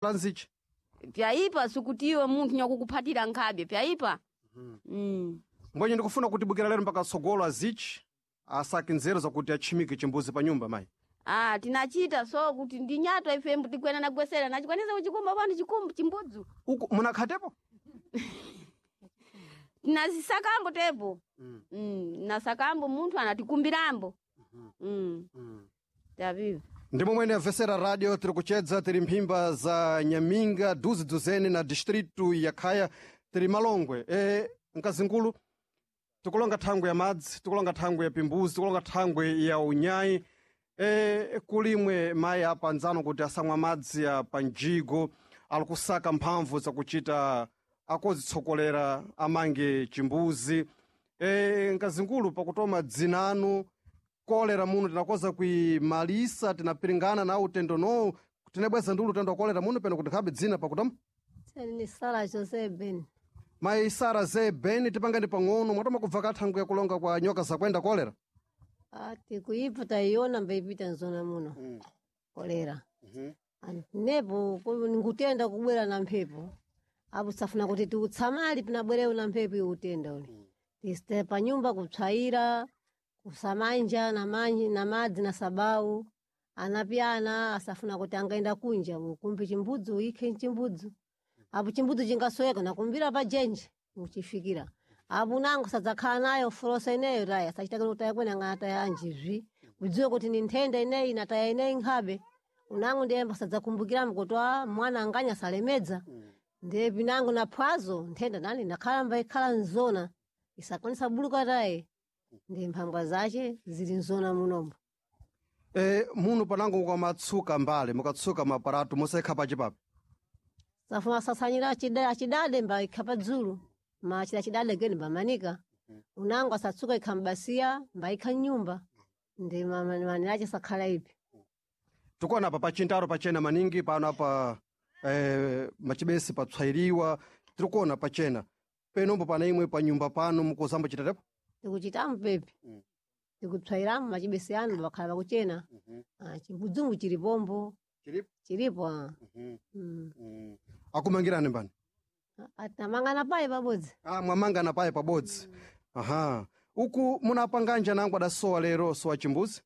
La nzichi. Pyaipa sikutiwe munthu nyakukuphatira nkhabe pyaipa. Mbwenye ndikufuna kutibukira lero mpaka tsogolo azichi asake nzeru zakuti atchimike chimbuzi pa nyumba mayi. Ah, tinachita so kuti ndi nyato ife tikwena nagwesera nachikwanisa kuchikumba pano chikumbu chimbudzu. Uku munakhatepo? Tinazisakambo tepo. Nasakambo munthu anatikumbirambo. Tavivi. Ndi momwene amvesera radio tiri kuchedza tiri mphimba za Nyaminga duzi duzene na distritu ya Khaya tiri Malongwe. Mkazingulu tikulonga thangwe ya madzi, tikulonga thangwe ya pimbuzi, tikulonga thangwe ya unyayi. Kulimwe mayi apa anzano kuti asamwa madzi ya panjigo ali kusaka mphamvu zakuchita akozitsokolera amange chimbuzi. Mkazingulu pakutoma dzinanu kolera muno tinakoza kuimalisa tinapiringana na utendo no tinabweza ndi ulutendo wa kolera muno peno kuti nkhabe dzina pakutoma. Ni Sara Jose Ben. Mayi Sara ze Ben tipangani pang'ono mwatoma kubva kathangwe yakulonga kwa nyoka zakwenda kolera. Ati kuipa taiona mbaipita nzona muno. Kolera. Nepo ngutenda kubwera na mphepo. Apo safuna kuti tiutsamali pinabwerewo na mphepo iwo utenda ule. Tisite pa nyumba kupsayira, kusamanja na manyi na madzi na sabau. Anapyana asafuna kuti angaenda kunja ukumbi chimbudzu uikhe chimbudzu. Apo chimbudzu chingasweka nakumbira pa jenje muchifikira. Apo nango sadzakhala nayo forosa ineyo taya sachita kuti taya kwene angataya anjizvi. Kudziwe kuti ni nthenda ineyi nataya ineyi nkhabe. Unango ndiye sadzakumbukiramo kuti ah, mwana anganya salemedza. Ndiye pinango na phwazo nthenda nani nakhala mbaikhala nzona isakwanisa buluka taye. Ndiye mphangwa zace zili nzona munombo. Muno panango mukamatsuka mbale mukatsuka maparato musaikha pachipapi. Safuna sasanyira achidade mbaikha padzulu. Ma chida chidade geni mbamanika. Unango asatsuka ikha mbasiya mbaikha mnyumba. Ndi manirace sakhala ipi. Tikuona apa pachintaro pachena maningi pano apa machibesi papsayiriwa tirikuona pachena penombo pana imwe pa nyumba pano mukuzamba chitatepo. Tikuchitamu pepi. Tikupsayiramu machibesi anu bakhala pakuchena. Ah, chimbudzungu chilipombo. Chilipo? Chilipo. Ah. Akumangirani mbani? Atinamangana paye pabodzi. Ah, mwamangana paye pabodzi. Aha. Uku munapanganja nangu adasowa lero sowa chimbuzi.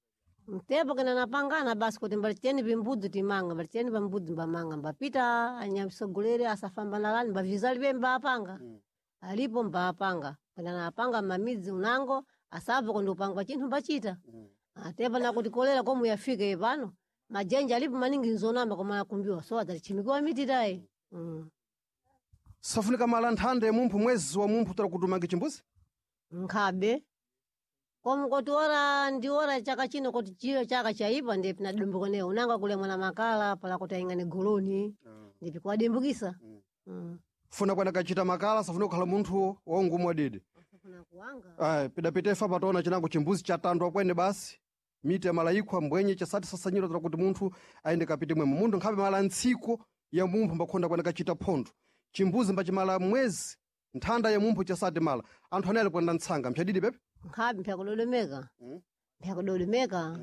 Mtepo kena napangana basi kuti mbalicheni pimbudzi timanga mbalicheni pambudzi mbamanga mbapita anyamsogolere asafamba nalani mbavizali pe mbapanga. Alipo mbapanga kena napanga mamidzi unango asabva kundi upangwa chinthu mbachita. Atepo nakuti kolera komu yafike pano majenja alipo maningi nzonamba koma akumbiwa so adzachimikiwa miti tayi. Safunika mala nthanda ya mumphu mwezi wa mumphu tara kuti umange chimbuzi. Nkhabe komu kuti ora ndi ora chaka chino kuti chiyo chaka chaipa ndiye pinadumbukaneyo unanga kulemwa na makala pala kuti aingane goloni ndipi kuwadimbukisa. Funa kwena kachita makala safunika kukhala munthu waungumu wadidi. Asafuna kuwanga. Aya, pidapitefa pataona chinango chimbuzi chatandwa kwene basi miti ya malayikwa mbwenye chasati sasanyira tara kuti munthu aende kapite mwemo munthu nkhabe mala ntsiko ya mumphu mbakhonda kwene kachita phondo chimbuzi mbachimala mwezi nthanda ya mumphu chasati mala anthu anali kwenda ntsanga mphyadidi pepe. Nkhabe mpyakudodomeka mpyakudodomeka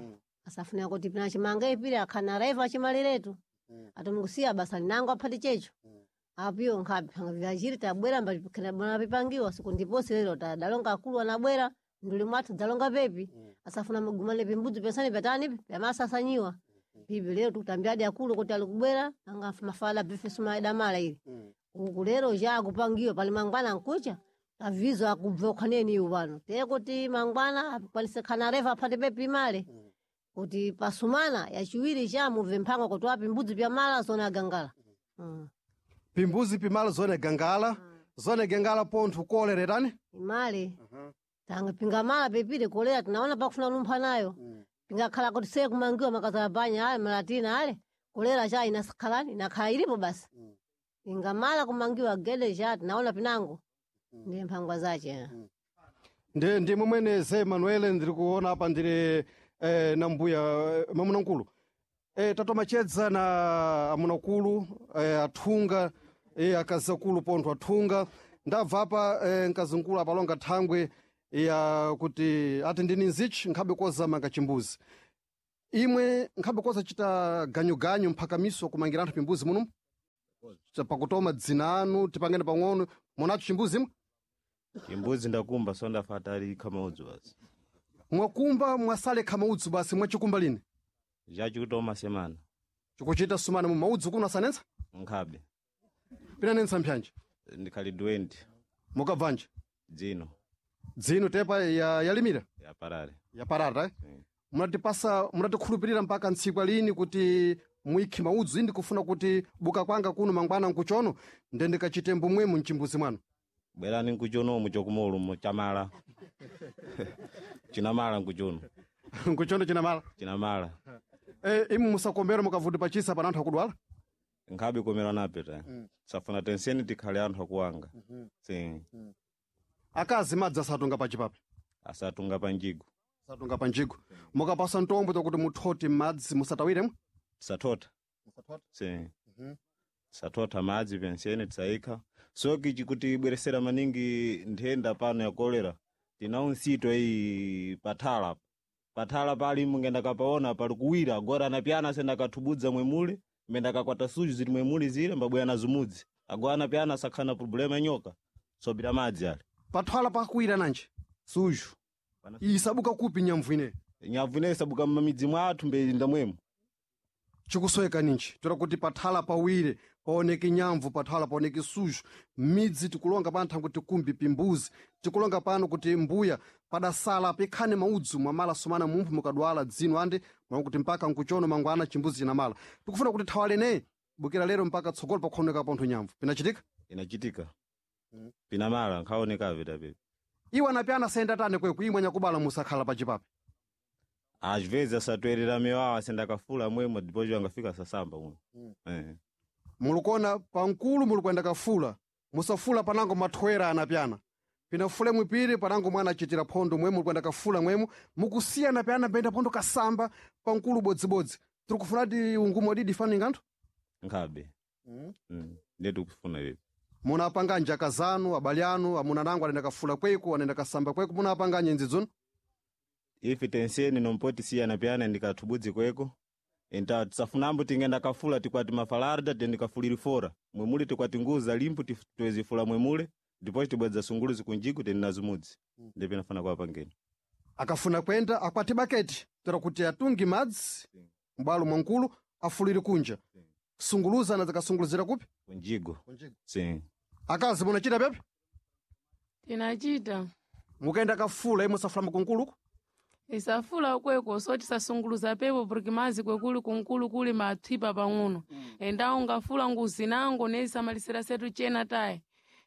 asafuna kuti pinachimanga ipiri akhana raiva achimaliretu atomukusiya basa linango aphati checho apiyo nkhabe phanga vyachiri tabwera mbali pipangiwa siku ndiposi lero tadalonga akulu anabwera nduli mwathu dzalonga pepi asafuna mugumane pimbudzi pensani pyatani pyamasasanyiwa pipi lero tikutambiradi akulu kuti ali kubwera anga mafala bifesu maidamala ili uku lero chakupangiwa pali mangwana nkucha avizo akubva ukhaneni iwo pano teye kuti mangwana akwanise khana refa aphate pepi male kuti pasumana yachiwiri chamubve mphangwa kuti wapi mbudzi pyamala zona agangala. Pimbuzi pimala zone gangala zone gangala pontho koleretani. Imale tanga pingamala pepire kolera tinaona pakufuna lumpha nayo pingakhala kuti seye kumangiwa makazala panya ale malatina ale kolera cha inakhalani inakhala ilipo basi pingamala kumangiwa gede cha tinaona pinango ndiye mphangwa zace. Ndi momwene ze Manuel ndiri kuona apa ndiri na mbuya mamunamkulu. Tatomachedza na amunakulu athunga akazakulu pontho athunga ndabva apa mkazinkulu apalonga thangwe ya kuti ati ndini nzichi nkhabe koza manga chimbuzi imwe nkhabe koza chita ganyuganyu mphakamiso kumangira anthu pimbuzi muno. Pakutoma dzina anu tipangene pang'ono munacho chimbuzi imwe? Chimbuzi ndakumba so ndafata ali kamaudzu basi. Mwakumba mwasale kamaudzu basi mwachikumba lini? Chachikutoma semana. Chikuchita sumana mu maudzu kuno asanensa? Nkhabe. Pinanensa mphyanje? Ndikhali 20. Mukabvanje? Dzino. Dzino tepa yalimira? Ya parare. Ya parare, eh? Munatipasa munatikhulupirira mpaka ntsikwa lini kuti mwikhi maudzu indi kufuna kuti buka kwanga kuno mangwana nkuchono nde ndikachite mbumwemu mchimbuzi mwanu? Bwerani nkuchonomu chokumolumo chamala. Chinamala nkuchono. Nkuchono chinamala? Chinamala. Imu musakombera mukavuti pachisa pana anthu akudwala? Nkhabe komera nape ta. Safuna tenseni tikhale anthu akuwanga. Si. Akazi madzi asatunga pachipape? Asatunga panjigo. Asatunga panjigo. Mukapasa ntombo tokuti muthoti madzi musatawiremo? Tisatota. Si. Tisatota madzi penseni tisayikha. Soki chikuti ibweresera maningi nthenda pano ya kolera. Tinawo nsito iyi pathala. Pathala pali mungenda kapaona pali kuwira agora anapyana asenda kathubudza mwemule mbenda kakwata suju zili mwemule zile mbabwera na zumudzi. Agora anapyana asakhana problema ya nyoka. Sobira madzi ale. Pathala pakuwira nanji? Suju. Isabuka kupi nyamvu ine? Nyamvu ine isabuka m'mamidzi mwathu mbeyinda mwemu. Chikusweka ninji toera kuti pathala pawire paoneke nyamvu pathala paoneke suju midzi tikulonga pano thangwe tikumbi pimbuzi tikulonga pano kuti mbuya padasala pikhane maudzu mwamala sumana mumphu mukadwala dzino andi mwa kuti mpaka nkuchono mangwana chimbuzi chinamala tikufuna kuti thawalene bukira lero mpaka tsogolo pakuoneka pontho nyamvu pinachitika? Inachitika. Pinamala nkhaonekabe tapepe. Iwo anapyana sayenda tane kweku imwe anyakubala musakhala pachipape. Às vezes asatoerera mewawa asenda kafula mwemo depois angafika sasamba mwe. Mulukona pankulu mulikuenda kafula musafula panango mathwera anapyana pinafule mwipiri panango mwana achitira phondo mwemu mulikuenda kafula mwemu mukusiya anapyana penda phondo kasamba pankulu bodzibodzi tiri kufunati ungumo didi faninga anthu? Nkhabe. Ndiye tikufuna ivi. Munapanga njaka zanu abale anu amuna nango anenda kafula kweku anenda kasamba kweku munapanga nyenzi dzunu? Ife tenseni nompoti siya anapyana ndikathubudzi kweko. Enta tisafunambo tingenda kafula tikwati mafalarda tendikafuliri fora. Mwemule tikwati nguza limpu tiwezifula mwemule depois tibwedza sunguluzi kunjiku tendina zumudzi. Ndipo inafana kwa pangeni. Akafuna kwenda akwati baketi toera kuti atungi madzi m'bwalo mwankulu afulire kunja. Sunguluza anadzakasunguluzira kupi? Kunjigo. Sim. Akazi munachita pepe? Tinachita. Mukaenda kafula imwe safula mkunkuluku? Isafula kweko so tisasunguluza pepo porque mazi kwekuli kunkulu kuli mathipa pang'ono. Endawo ngafula nguzi nango nezisamalisira setu chena tayi.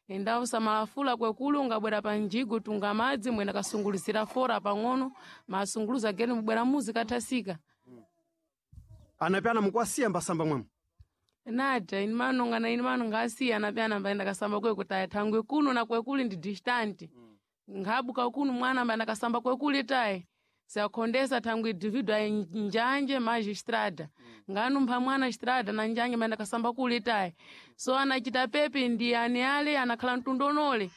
Endawo samalafula kwekuli ungabwera panjigo tunga madzi mwena kasunguluzira fora pang'ono masunguluza geni mubwera muzi kathasika. Anapyana mukwasiya mbasamba mwemu? Nada, ini manonga na ini manonga asiya anapyana mbaenda kasamba kweko tayi thangwe kuno na kwekuli ndi distant. Nkhabuka kuno mwana mbaenda kasamba kwekuli tayi. Siakhondesa thangwe individual njanje maji estrada. Nganumpha mwana estrada na njanje mbaenda kasamba kuli tayi. So anachita pepe ndi ani ale anakhala mtundonole.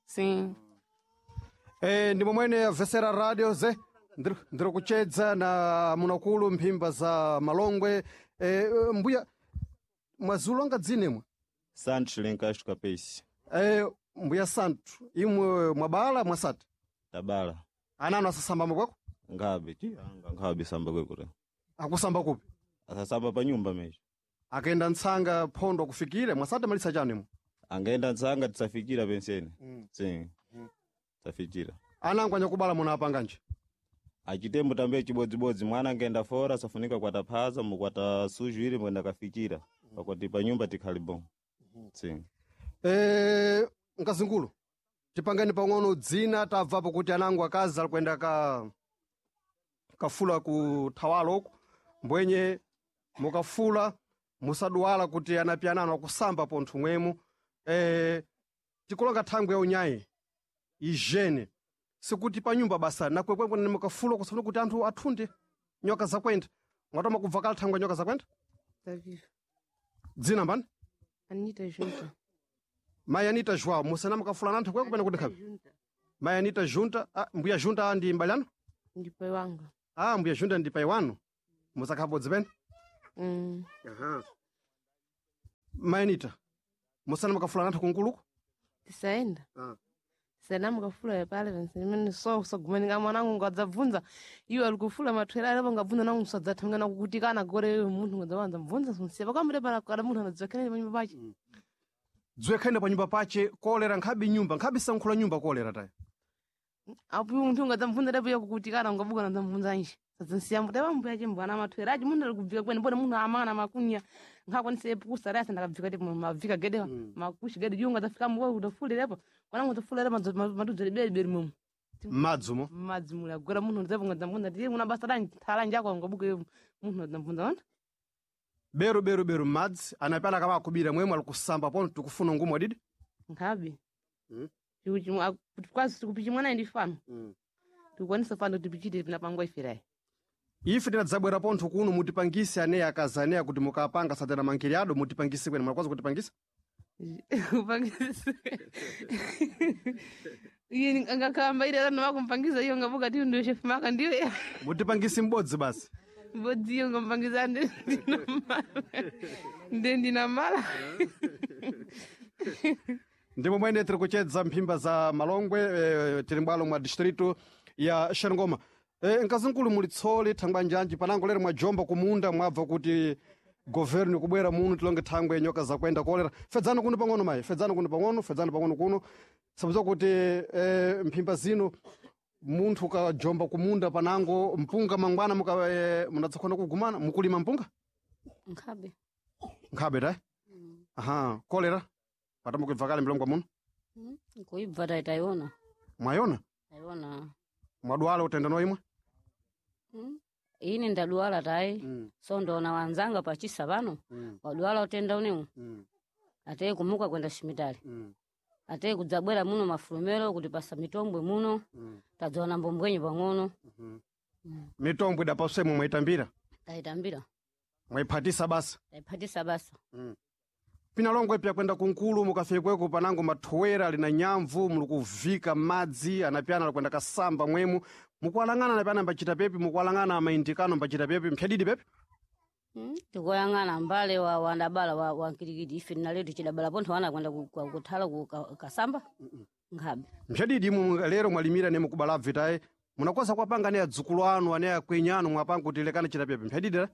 Sim. Ndi momwene avesera radio ze ndiri kuchedza na munakulu mphimba za Malongwe. Mbuya mwazulonga dzinemwe? Santos Lencastro Capesi. Mbuya Santos imwe mwabala mwasati? Tabala. Ananu asasamba kwako? Ngabe ti anga nkhabe samba kweko ta. Akusamba kupi? Asasamba pa nyumba mecho. Akaenda ntsanga phondo kufikire mwasati malisa chanu imwe? Angaenda ntsanga tisafikira penseni. Sim. Tisafikira. Anangu anyakubala munapanganje? Achitembo tambe chibodzibodzi mwana angaenda fora safunika kwata phaza mukwata suju ili mwenda kafikira. Pakwati pa nyumba tikhali bom. Sim. Mkazingulu tipangeni pang'ono dzina tabvapo kuti anangu akazi ali kuenda kafula ku thawalo uku mbwenye mukafula musaduwala kuti anapyanano akusamba pontho mwemu. Tikulonga thangwe ya unyayi ijene sikuti panyumba basa nakwekwe mukafula kusafuna kuti anthu athunde nyoka zakwenda mwatoma kubva kale thangwe ya nyoka zakwenda? Dzina mbani? Anita Junta. Mayi Anita João, musana mukafula nanthu kweko pene kuti nkhabe? Mayi Anita Junta, mbuya Junta ndi mbali anu? Ndi pai wanga. Mbuya Junta ndi pai wanu. Musakhabodzi pene? Mayanita musana mukafula nathu kunkuluku Tisaenda. Tisaenda mukafula pale vensemene so usagumanika mwanangu ngadzabvunza iwe ali kufula mathwera alepo ngabvunza nangu usadzathamangana kukutikana gore iwe munthu ngadzawanza mvunza sunsiya pakamire pana kada munthu anadzakhenene panyumba pache. Dziwekhene pa nyumba pache kolera nkhabe nyumba nkhabe sankhula nyumba kolera tayi. Apo munthu ngadzamvunza lepo iye kukutikana ungabuka nadzamvunza nje. Sadzansiya mbuta pambuya chimbwana mathwera achi munthu ali kubvika kwene mbona munthu amana makunya nkhakwanise pukusa rasa ndakabvika tipo mabvika gedewa makushi gede iwe ngadzafika mbuya udafulirepo mwanangu udzafulira madudzere beri mumu. Madzumo Madzi muli agwera munthu ndzepo ngadzamvunza tiye muna basa lanji thala njako ngabuka iwe munthu adzamvunza ona. Beru beru beru madzi anapana kama akubira mwemwe ali kusamba pono tikufuna ngumu adidi. Nkhabe. Kwazi tikupichi mwana ndi fano. Tikukwanisa fano kuti pichite pinapangwa ifirayi. Ife tinadzabwera pontho kuno mutipangise aneya akazi aneya kuti mukapanga satana mankiriado mutipangise kwene mwakwaza kutipangisa. Kupangisa. Iye angakamba ile ana wakumpangiza iyo ngabuka tiyo ndio chef maka ndiyo. Mutipangise m'bodzi basi. Mbodzi iyo ngampangiza ndinamala. Ndiye ndinamala. Ndimo mwene tiri kuchedza mphimba za Malongwe tiri mbwalo mwa distritu ya Xerengoma. Mkazinkulu muli tsoli thangwa njanji panango lero mwajomba kumunda mwabva kuti governi kubwera muno tilonge thangwe nyoka zakuenda kolera. Fedzani kuno pang'ono mayi, fedzani kuno pang'ono, fedzani pang'ono kuno. Sabza kuti mphimba zino munthu ukajomba kumunda panango mpunga mangwana muka munadzakhona kugumana mukulima mpunga Nkhabe. nkhabe tayi. Aha, kolera patamukubva kale mlongo muno. Nkuibva tayi tayiona. Mwayona? Tayiona. Mwadwala utenda noimwe? Ine ndadwala tayi. So ndona wanzanga pachisa pano. Wadwala utenda unewu. Ateye kumuka kwenda shimitali. Ateye kudzabwera muno mafulumero kuti pasa mitombwe muno. Tadzaona mbombwenyi pang'ono. Mitombo idapaswemo mwaitambira Tayitambira. mwaiphatisa basa. Tayiphatisa basa. Pinalongwe pya kwenda kunkulu mukafikweko panango mathuwera lina nyamvu muli kuvika madzi anapyana alikwenda kasamba mwemu mukuwalang'ana anapyana mbachita pepi mukuwalang'ana amaindikano mbachita pepi mphyadidi pepi. Tikoyang'ana mbale wa wandabala wa wankilikiti ife tinaletu chidabala pontho wana kwenda kuthala ku kasamba. Nkhabe. Mphyadidi imwe lero mwalimira ne mukubala bvitayi munakoza kwapanga ne adzukulu anu ane akwenyi anu mwapanga kuti lekani chita pepi mphyadidi la.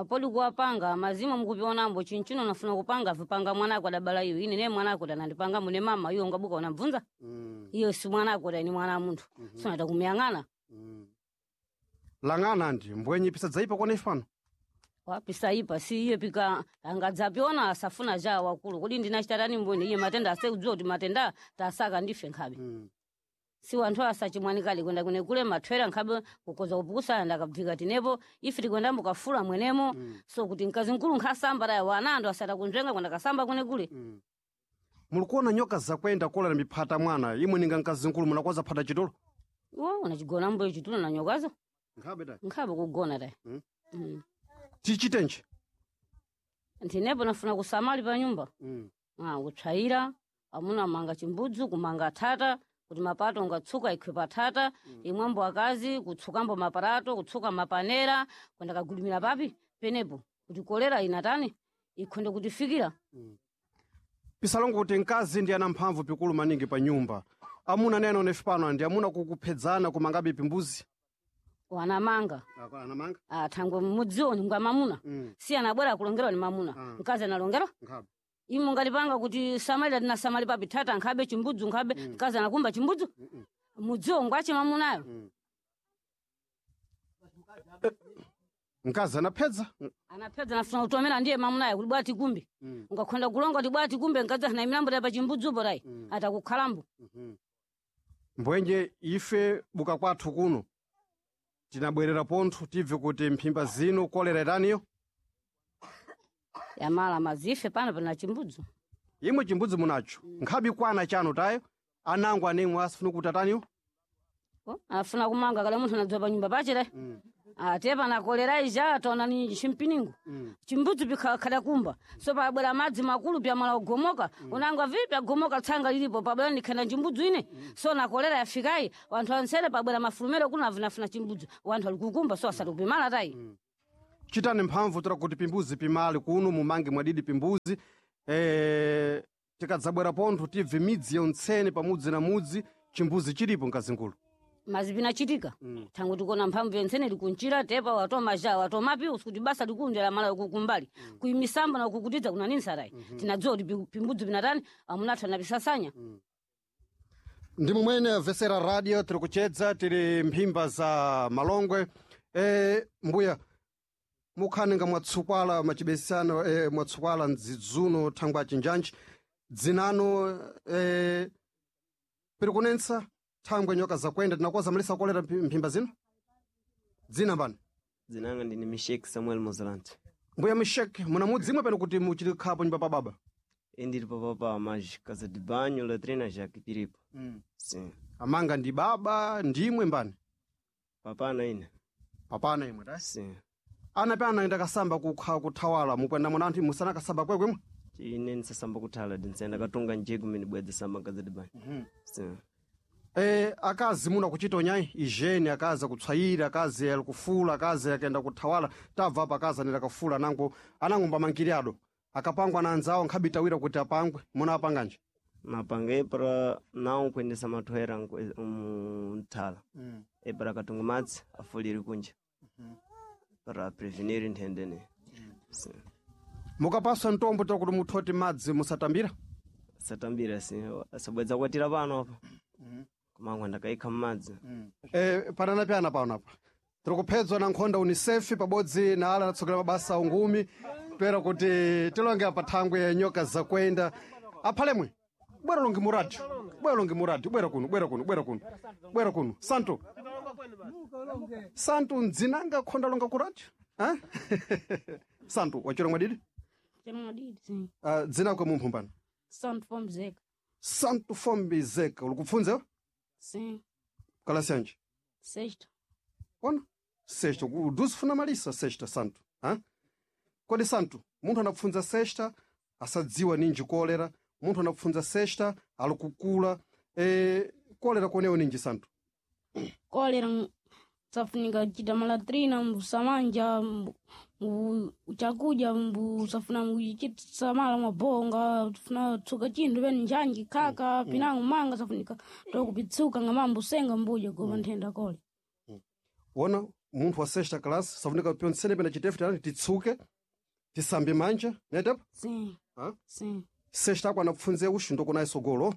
Podi kuwapanga mazima mukupionambo chinchino nafuna kupanga vipanga mwanako adabala iyo ine ne mwanako tanandipanga mune mama iyo ngabuka unabvunza. Iyo si mwanako ni mwana wa munthu. Sonata kumuyang'ana. Lang'ana ndi mbwenyi pisadzaipa kone ifano. Wapisaipa si iye pika angadzapiona asafuna ja wakulu kodi ndinachitatani mboni iye matenda asekudziwa kuti matenda tasaka ndife nkhabe. Si wanthu asachimwanikali kwenda kune kule mathwera nkhabe kukoza kupukusana ndakabvika tinepo ife tikwenda mukafula mwenemo. So kuti mkazi mkulu nkhasamba taya wana anthu asata kunzvenga kwenda kasamba kune kule. Mulikuona nyoka zakwenda kolera miphata mwana imwe ninga mkazinkulu munakoza phata chitulo. Wo unachigona mbuyo chitulo na nyokazo. Nkhabe tayi. Nkhabe kugona taya. Tichitenji. Ntinepo nafuna kusamali pa nyumba. Kutsvaira amuna manga chimbudzu kumanga thata kuti mapato ungatsuka ikhwe pathata. Imwambo akazi kutsukambo maparato kutsuka mapanera kwenda kagulumira papi penepo kuti kolera inatani ikhonde kutifikira. Pisalongo kuti mkazi ndi ana mphamvu pikulu maningi pa nyumba. Amuna nene onefi pano ndi amuna kukuphedzana kumangabe pimbuzi. Wanamanga. Anamanga? Thangwe mmudziwo ni ngwa mamuna. Si anabwera kulongerwa ni mamuna. Mkazi analongerwa. Nkhabe. Imo ngalipanga kuti samalira tinasamali papi thata nkhabe chimbudzu nkhabe mkazi anakumba chimbudzu. Mudziwo ngwache mamunayo. Mkazi anaphedza. Anapedza nafuna kutomera ndiye mamunayo kuti bwati kumbi. Ungakhonda kulonga kuti bwati kumbe mkazi ana milambo pa chimbudzupo tayi. Atakukhalambo. Mbwenje ife buka kwathu kuno tinabwerera pontho tibve kuti mphimba zino kolera itaniyo. Yamala mazife pano pana chimbudzu. Imwe chimbudzi munacho. Nkhabe kwana chanu tayo anango anemwe asifuna kuti ataniyo. Afuna kumanga kala munthu anadzowa pa nyumba pache tayi. Ate pana kolera ija taona ni chimpiningo. Chimbudzu pikhala kumba. So pabwera madzi makulu pyamala kugomoka. Unangwa vipi agomoka tsanga lilipo pabwera ndikhenda chimbudzu ine. So na kolera yafikayi wanthu ansere pabwera mafulumero kuno avinafuna chimbudzu. Wanthu ali kukumba so asati kupimala tayi. Chitani mphamvu tora kuti pimbuzi pimali kuno mumange mwadidi pimbuzi tikadzabwera pontho tibve midzi yontsene pamudzi na mudzi chimbuzi chilipo mkazingulu. Mazi pinachitika thangu tikona mphamvu yentsene likunchira tepa watoma ja watoma piusi kuti basa likundela mala kukumbali kuimisamba na kukutidza kuna nini sarai tinadziwa kuti pimbudzi pinatani amunathu anapisasanya. Ndi momwene vesera radio tiri kuchedza tiri mphimba za Malongwe. Mbuya mukhaninga mwatsukwala machibesano mwatsukwala mdzidzuno thangwa chinjanji dzinano piri kunensa thangwe nyoka zakwenda tinakoza malisa kolera mphimba zino dzina mbani? Dzinanga ndine Mishek Samuel Mozalante. Mbuya Mishek, muna mudzimwe pano kuti muchiri khapo nyumba pa baba? Indiri papapa mas casa de banho, latrina já que piripo. Sim. Amanga ndi baba ndimwe mbani? Papana ine. Papana imwe ta? Sim. Ana pe anaenda kasamba kukha kuthawala mukwenda muna anthu musana kasamba kwekwemwe? Ine ndisasamba kuthala ndinsenda katunga njeko mene bwedza samba casa de banho. Sim. Akazi muna kuchita onyayi ijeni akazi akutswayira akazi alikufula akazi akaenda kuthawala tabva apa akazi anenda kafula anango anangomba mangiri ado akapangwa na anzawo nkhabitawira kuti apangwe muna apanganje? Mapanga epara nawo kuendesa mathoera muthala. Epara katunga madzi afulire kunja. Para prevenir nthenda. Sim. Mukapaswa mtombo ta kuti muthoti madzi musatambira? Satambira sim. Asabwedza kwatira pano apa. Kumangwa ndakaikha mmadzi. Panana pyana pano apa tiri kuphedzwa na nkhonda UNICEF pabodzi na ala anatsogolera mabasa ungumi toera kuti tilonge apa thangwe ya nyoka zakwenda aphalemwe bwera longe muradio bwera longe muradio bwera kuno bwera kuno bwera kuno bwera kuno santo santo ndzinanga khonda longa ku radio santo wachira mwadidi? Chemwadidi. Dzina kwe mumphu mbani? Santo Fombizeka. Santo Fombizeka ulikupfunza? Sim. Kalasi yanji? Sexta. Ona sexta uduzi funa malisa sexta santo ha? Kodi santo munthu anapfunza sexta asadziwa ninji kolera munthu anapfunza sexta alikukula kolera konewo ninji santo? Kolera safunika kuchita malatrina mbusamanja chakudya mbusafuna mbuchisamala mabonga tufuna tsuka chinthu pene njanji khaka pinango manga safunika tokupitsuka nga mambusenga mbuja gopa nthenda kole. Wona munthu wa sexta class safunika pyontsene pena chitefu tani titsuke tisambe manja netepo? Sim. Ha? Sim. Sexta ako anapfunze uxi ndokunayi sogolo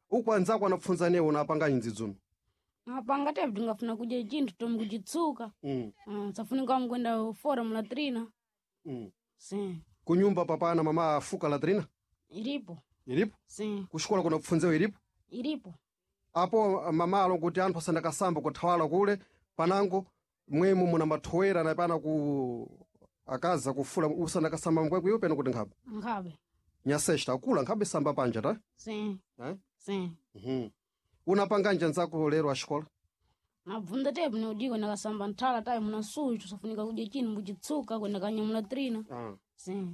uku anzako anapfunza newo napanganyi ndzidzuno? Apanga tepu tingafuna kudya chinthu tomu kuchitsuka. Safunika mkwenda fora mulatrina. Sim. Kunyumba papana mama afuka latrina? Ilipo. Ilipo? Sim. Kuxikola kuna kupfunzewo ilipo? Ilipo. Apo mama alo kuti anthu asandakasamba kuthawala kule panango mwemu muna mathowera na pana ku akaza kufula usandakasamba mkwekwe iwo peno kuti nkhabe? Nkhabe. Nyasexta akula nkhabe samba panja ta? Sim. Eh? Sim. Unapanganja nzako lero axikola? Nabvunza tepu neudiko ndakasamba nthala tayi muna suchu safunika kudya chinthu mbuchitsuka kwenda kanyamula trina. Sim.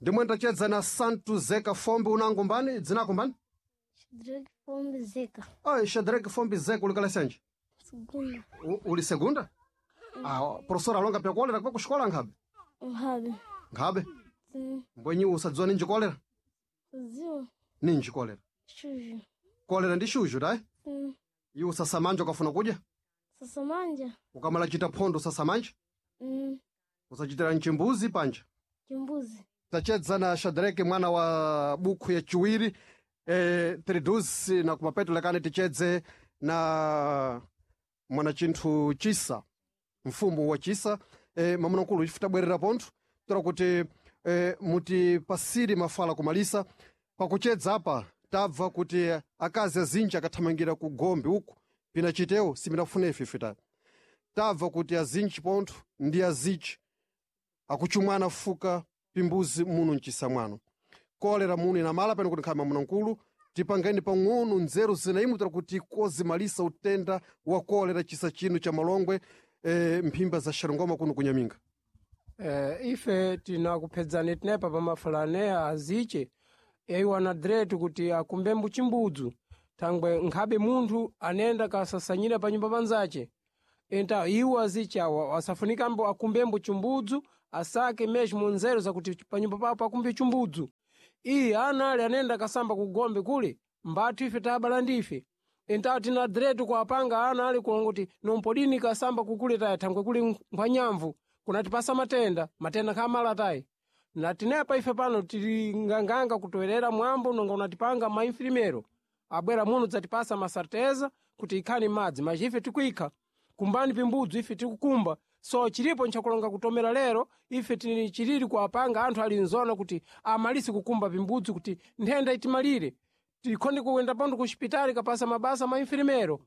Ndimwe ndachedza na Santo Zeka Fombe unango mbani dzinako mbani? Shadrack Fombe Zeka. Oi, Shadrack Fombe Zeka uli kalasi Segunda. Uli segunda? Ah, professor alonga pya kolera kwa kuxikola nkhabe? Nkhabe. Nkhabe? Sim. Mbwenyi usadziwa ninji kolera? Ziwa. Ninji kolera? Shuju. Kolera ndi shuju tayi? Sim. Iwe usasamanja ukafuna kudya? Sasamanja. Ukamala chita phondo usasamanja? Usachitira mchimbuzi panja? Chimbuzi. Tachedza na Shadrack mwana wa bukhu ya chiwiri tridusi na kumapeto lekani tichedze na mwana chinthu chisa mfumu wa chisa mamunakulu ife tabwerera pontho tora kuti mutipasire mafala kumalisa pakuchedza apa tabva kuti akazi azinji akathamangira ku gombe uku pina chitewo siminafuna ife ife ta tabva kuti azinji pontho ndi azichi akuchumwana fuka pimbuzi muno mchisa mwano kolera muno inamala pano kuti nkhama munankulu tipangeni pang'ono nzeru zinaimutira kuti kozimalisa utenda wa kolera chisa chino cha Malongwe mphimba za Xarungoma kuno kunyaminga. Ife tinakuphedzani tinepa pamafalaneya aziche eiwana dretu kuti akumbe mbuchimbudzu thangwe nkhabe munthu anenda kasasanyira pa nyumba panzace. Então iwo azichawa asafunikambo akumbembo chumbudzu asake mesmo nzeru zakuti panyumba pawo pakumbe chumbudzu. Iye ana ali anenda kasamba kugombe kule mbatu ife tabala ndife. Então tina direto kuapanga ana ali kulonga kuti nompodini kasamba kukule tayi thangwe kuli nkhwanyamvu kunatipasa matenda matenda khamala tayi. Na tinepa ife pano tili nganganga kutowerera mwambo nonga unatipanga mainfirimero abwera muno dzatipasa masarteza kuti ikhani madzi maji ife tikuikha kumbani pimbudzu ife tikukumba so chilipo nchakulonga kutomera lero ife tili chilili kuapanga anthu ali nzona kuti amalise kukumba pimbudzu kuti nthenda itimalire tikhonde kuyenda pano ku xipitali kapasa mabasa mainfirimero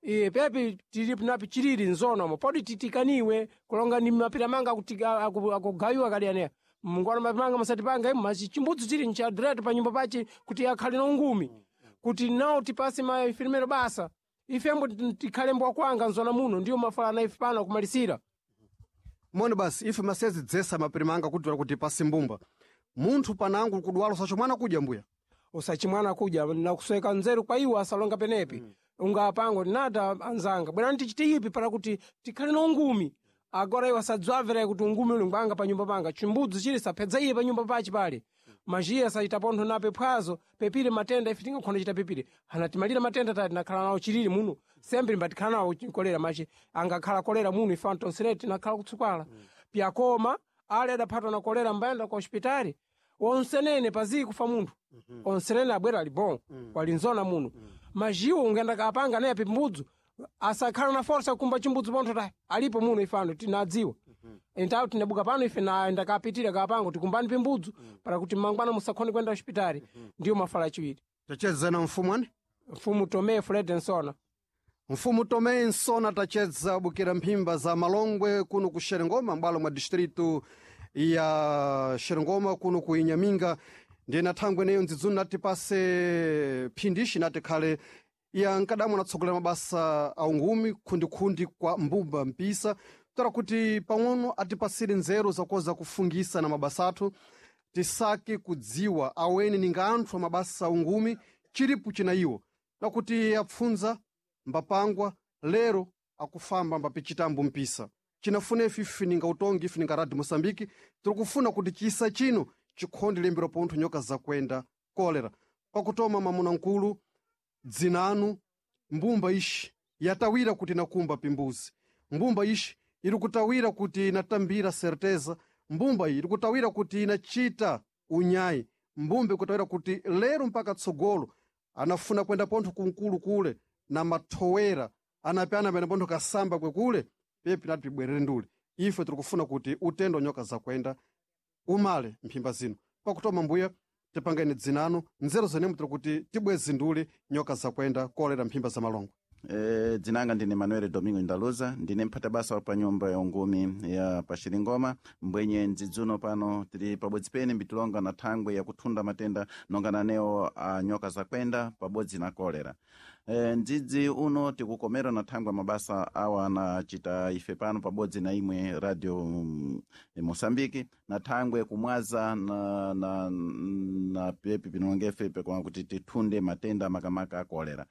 iye pepi tili napi chilili nzonamo podi titikaniwe kulonga ni mapira manga akugayiwa kali aneya mungwana mapimanga musatipanga imu machi chimbudzu chili ncha direct pa nyumba pachi kuti akhale na ungumi kuti nawo tipase mainfirimero basa ifembo tikhale mbwa kwanga nzona muno ndiyo mafalana ife pano akumalisira. Moni basi ife masezi dzesa mapiri manga kuti kuti pasi mbumba munthu panangu kudwala usachimwana kudya mbuya usachimwana kudya nakusweka nzeru kwa iwo asalonga penepi. Ungapango nata anzanga bwerani tichite ipi para kuti tikhale na ungumi agora iwo asadzwamvera kuti ungumi uli ngwanga pa nyumba panga chimbudzu chili sapedza iye pa nyumba pachi pale majiya asachita pontho nape phwazo pepire matenda ife tingakhona chita pepire anatimalira matenda tati tinakhala nawo chilili muno sembe mbatikhala nawo kolera machi angakhala kolera muno ife antonsereti tinakhala kutsukwala. Pyakoma ale adaphatwa na kolera mbayenda ku hospitali onsenene pazii kufa munthu. Onsenene abwera ali bon walinzona muno majiwo ungenda kapanga naye pimbudzu asakhala na forsa kumba chimbudzu pontho tayi alipo muno ifano tinadziwa. Então tinabuka pano ife naenda kapitira kapanga tikumbani pimbudzu para kuti mangwana musakhone kwenda hospitali. Ndiyo mafala achiwiri. Tachedza na mfumu ani? Mfumu Tomé Fred Nsona. Mfumu Tomé Nsona tachedza bukira mphimba za Malongwe kuno ku Xerengoma m'bwalo mwa distritu ya Xerengoma kuno ku Inhaminga. Ndiye na thangwe neyo ndzidzuni natipase phindishi nati khale ya nkadamu anatsogolera mabasa a ungumi khundikhundi kwa mbumba mpisa tora kuti pang'ono atipasire nzeru zakoza kufungisa na mabasa athu tisake kudziwa aweni ninga anthu a mabasa a ungumi chilipo china iwo nakuti apfunza mbapangwa lero akufamba mbapichitambo mpisa chinafuna ife ife ninga utongi ife ninga radio Moçambique tiri kufuna kuti chisa chino chikhonde lembera pontho nyoka zakwenda kolera pakutoma mamuna nkulu dzinanu mbumba ixi yatawira kuti inakumba pimbuzi mbumba ixi iri kutawira kuti inatambira certeza mbumba iyi iri kutawira kuti inachita unyayi mbumba ikutawira kuti lero mpaka tsogolo anafuna kwenda pontho kunkulu kule na mathowera anapyana pene pontho kasamba kwekule pepi nati pibwerere ndule ife tiri kufuna kuti utendo nyoka zakwenda umale mphimba zino pakutoma mbuya tipangeni dzinano nzeru zenemu tiri kuti tibwezi ndule nyoka zakwenda kolera mphimba za Malongwe. Dzinanga ndine Manuel Domingo Ndaluza ndine mphata basa wa pa nyumba ya ungumi ya paxiringoma mbwenye ndzidzuno pano tili pabodzi pene mbitilonga na thangwe yakuthunda matenda nonga nanewo a nyoka zakwenda pabodzi na kolera. Ndzidzi uno tikukomera na thangwe mabasa awa anachita ife pano pabodzi na imwe radio Moçambique na thangwe kumwaza na pepi pinongefe pekwa kuti tithunde matenda makamaka a kolera.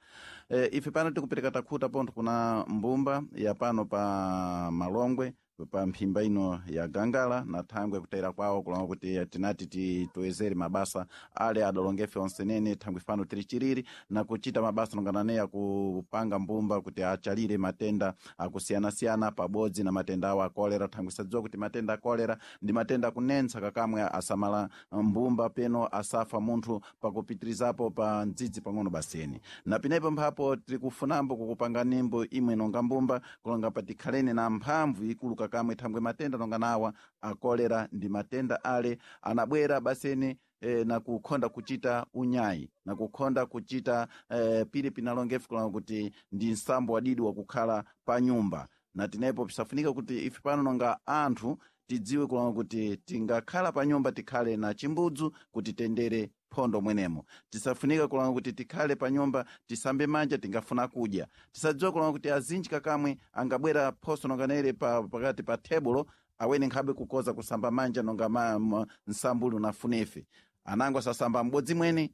Ife pano tikupereka takhuta pontho kuna mbumba ya pano pa Malongwe pa mphimba ino ya Gangala na thangwe kutera kwawo kulonga kuti tinati titoyezere mabasa ale adalongefe onsenene thangwe fano tili chiriri na kuchita mabasa nonganane akupanga mbumba kuti achalire matenda akusiyanasiyana pabodzi na matenda awo akolera thangwe sadziwa kuti matenda akolera ndi matenda akunentsa kakamwe asamala mbumba peno asafa munthu pakupitirizapo pa ndzidzi pang'ono baseni na pinepo mphapo tikufunambo kukupanga nimbo imwe nonga mbumba kulonga patikhaleni na mphamvu ikulu kakamwe thangwe matenda nonga nawa akolera ndi matenda ale anabwera baseni na kukhonda kuchita unyayi na kukhonda kuchita pili pinalongefu kulonga kuti ndi nsambo wadidi wakukhala pa nyumba na tinepo pisafunika kuti ife pano nonga anthu tidziwe kulonga kuti tingakhala pa nyumba tikhale na chimbudzu kuti tendere phondo mwenemo tisafunika kulonga kuti tikhale pa nyumba tisambe manja tingafuna kudya tisadziwa kulonga kuti azinji kakamwe angabwera phoso nonganere pakati pa tebulo awene nkhabe kukoza kusamba manja nonga nsambuli unafunefe anango asasamba m'bodzi mwene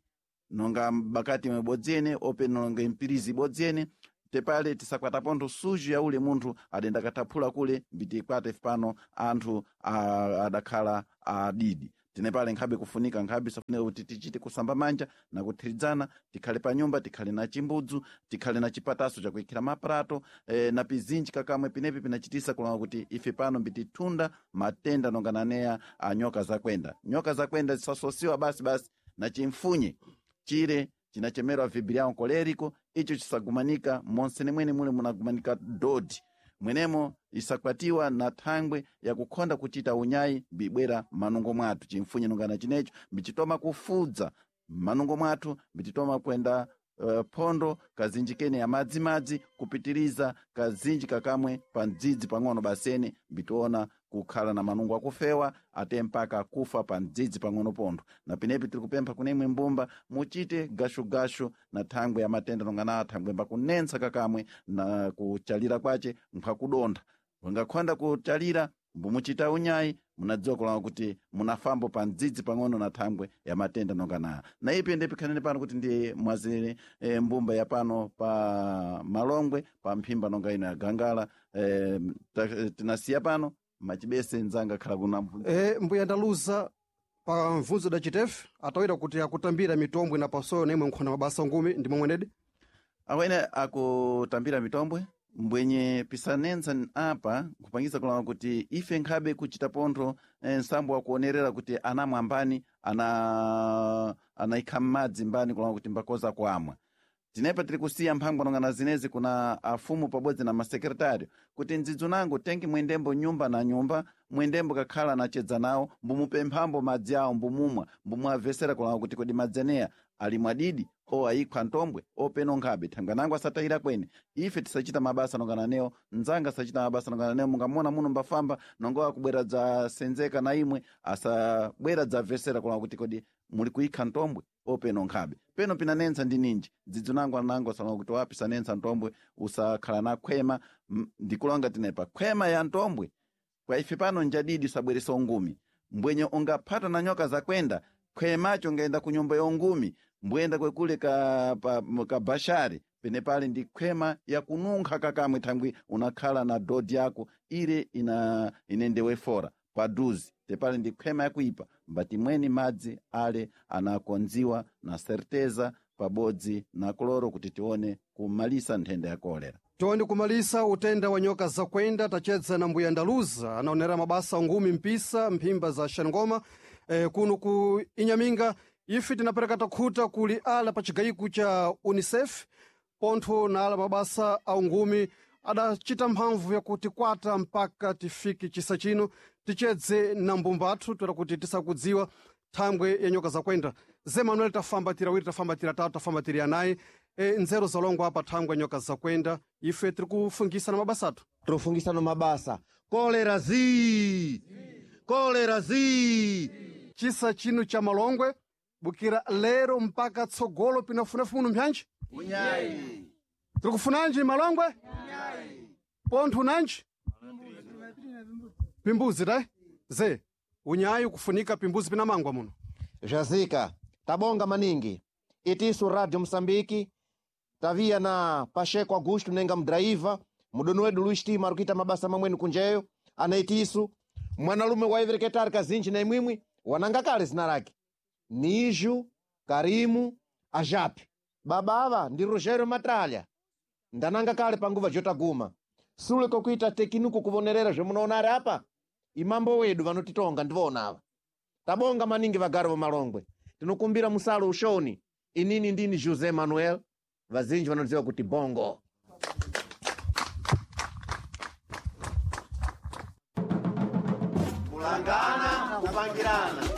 nonga bakati mwebodzi ene ope nonga mpirizi ibodzi ene. Tepale tisakwata pontho suju ya ule munthu adenda kataphula kule mbitikwate ife pano anthu adakhala adidi. Tinepale nkhabe kufunika nkhabe safunika kuti tichite kusamba manja na kuthiridzana, tikhale pa nyumba, tikhale na chimbudzu, tikhale na chipataso chakuikhira maprato na pizinji kakamwe pinepi pinachitisa kulonga kuti ife pano mbitithunda matenda nongananeya a nyoka zakwenda. Nyoka zakwenda zisasosiwa basi basi na chimfunye chire chinachemerwa vibrião colérico, icho chisagumanika monse nimwene mule munagumanika dodi mwenemo isakwatiwa na thangwe yakukhonda kuchita unyayi mbibwera manungo mwathu. Chimfunye nongana chinecho mbichitoma kufudza manungo mwathu, mbititoma kwenda phondo kazinji kene ya madzimadzi kupitiriza kazinji kakamwe pa mdzidzi pang'ono basene mbitiona kukhala na manungo akufewa ate mpaka kufa pa mdzidzi pang'ono pontho. Na pinepi tiri kupempha kunemwe mbumba muchite gashugashu na thangwe ya matenda nongana thangwe mbakunensa kakamwe na kuchalira kwace nkhwakudontha. Ungakhonda kuchalira mbumuchita unyayi munadziwa kulanga kuti munafambo pa mdzidzi pang'ono na thangwe ya matenda nongana. Na ipi ndipikhanene pano kuti ndiye mwazire mbumba ya pano pa Malongwe pa mphimba nonga ino ya Gangala tinasiya pano machibese nzanga khala kuna mbuya ndaluza pa mvunzo da chitefe atawira kuti akutambira mitombwe na pasoyo na imwe nkhona mabasa ngumi ndi momwenedi awene akutambira mitombwe mbwenye pisanensa apa kupangisa kulanga kuti ife nkhabe kuchita pontho nsambo wakuonerera kuti anamwa mbani anaikha m'madzi mbani kulanga kuti mbakoza kuamwa. Tinepa tiri kusiya mphangwa nongana zinezi kuna afumu pabodzi na masekretário kuti ndzidzu nangu tengi mwendembo nyumba na nyumba, mwendembo kakhala nachedza nawo mbumupemphambo madzi awo mbumumwa mbumuavesera kulanga kuti kodi madzi aneya ali mwadidi o ayikhwa ntombwe openo nkhabe thangwe nangu asatayira kwene. Ife tisachita mabasa nongana newo, nzanga asachita mabasa nongana newo. Mungamona muno mbafamba nongo akubwera dzasenzeka na imwe asabwera dzavesera kulanga kuti kodi muli kuikha ntombwe openo nkhabe. Peno pinanensa ndi ninji dzidzu nangu anango asalonga kuti wapi sanensa ntombwe usakhala na khwema. Ndikulonga tinepa khwema ya ntombwe kwa ife pano njadidi usabweresa ungumi mbwenye ungaphata na nyoka zakwenda khwemacho ngaenda ku nyumba ya ungumi mbuyenda kwekule ka bashari pene pali ndi khwema yakununkha kakamwe thangwi unakhala na dodi yako ile inendewe fora paduzi tepali ndi khwema yakuipa mbati mweni madzi ale anakonziwa na certeza pabodzi na kloro kuti tione kumalisa nthenda ya kolera. Tione kumalisa utenda wa nyoka zakwenda. Tachedza na mbuya Ndaluza anaonera mabasa ngumi mpisa mphimba za Xangoma kuno ku Inhaminga. Ife tinapereka takhuta kuli ala pa chigayiku cha UNICEF pontho na ala mabasa a ungumi adacita mphamvu yakuti kwata mpaka tifike chisa chino tichedze na mbumba athu toera kuti tisakudziwa thangwe ya nyoka zakwenda. Ze Manuel tafamba tiri awiri, tafamba tiri atatu, tafamba tiri anayi nzeru zalongwa apa thangwe ya nyoka zakwenda. Ife tiri kufungisana mabasa athu, tiri mabasa. Kolera zii, kolera zii. Chisa chino cha Malongwe bukira lero mpaka tsogolo pinafunafu muno mpyanji unyayi tiri kufunanji Malongwe pontho nanji pimbuzi tai ze unyayi kufunika pimbuzi pinamangwa muno Zvazika tabonga maningi itisu Radio Msambiki taviya na Pacheco Augusto nenga mdraiva mudoni wedu Luis Tima ari kuita mabasa mamweni kunjeyo ana itisu mwanalume waivereketa ari kazinji na imwimwi wananga kale zina lake Niju Karimu Ajapi baba ava ndi Rogério Matralha ndananga kale panguva jotaguma sule kokuita tekinuku kuvonerera zvemunoona ari apa imambo wedu vanotitonga ndivona ava tabonga maningi vagari vomalongwe tinokumbira musalo ushoni inini ndini José Manuel vazinji vanoziva kuti bongo. Kulangana kupangirana.